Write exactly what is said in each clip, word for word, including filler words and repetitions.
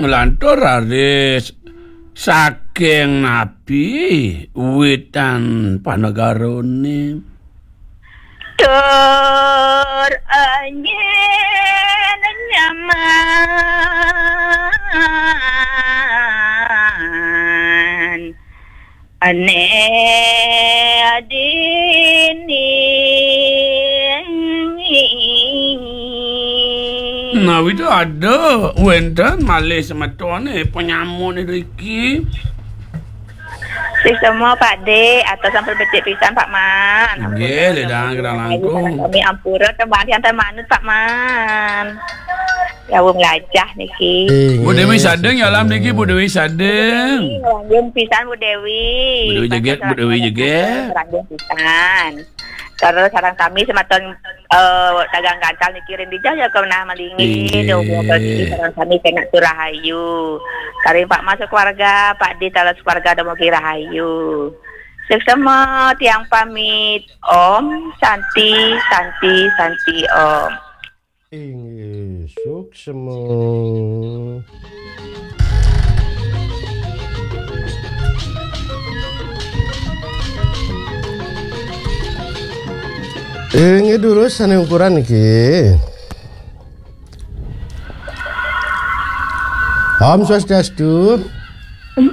Nglantur raris saking napi witan panegarane? Tur angin nyaman. Ane adini. Nah, itu ada wenten malih semetone penyamun riki. Sik semua, Pak De, atau sampai becik pisan, Pak Man. Nggih, ampura, ledang ampura, kerang ayu, langkung. Kami ampura, tembang yang termanut, Pak Man. Ya, wong lajah niki. Bu Dewi Sadeng ya alam niki, Bu Dewi Sadeng. Ngelanggeng pisan, Bu Dewi. Bu Dewi Jeget, Bu Dewi Jeget. Ngelanggeng pisan. Terus sareng sami semeton, eh, dagang gantal niki ring dijaya kenah malingi. Inggih. Dong, bagi sareng sami kena rahayu. Karing Pak Mas keluarga, Pak Di talas keluarga dumugi rahayu. Suksma tiang pamit. Om Santi, Santi, Santi Om. Inggih, suksma. Inggih, durus sane ukuran niki. Om Swastiastu.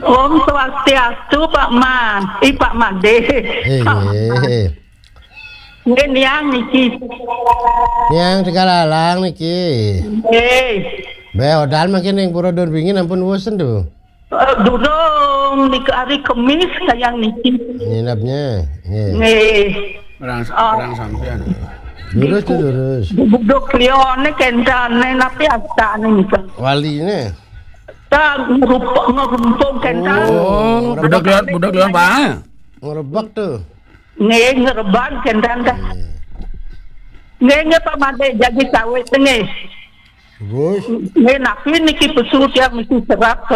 Om Swastiastu, Pak Man. Ih, Pak Made. Inggih. Nggih, niang niki. Niang Tegalalang niki. Nggih. Be, odal mangkin ring Pura Durbingin ampun wus tentu. Eh, durung, nika hari Kemis kayang niki. Nginepnya. Nggih. Nggih. Orang, orang sampean. Durus tuh, durus. Buduk liyane kentane napi astane nika? Waline. Ta ngerup-, ngerumpung kentan. Oh, budak liwat, budak liwat, Pak. Ngerebek tuh. Nggih, ngerebek kentan ta. Iya. Nggih, nggih, Pak Made, jadi sawit nggih. Terus? Nggih, napi niki pesu tiang mesti serap.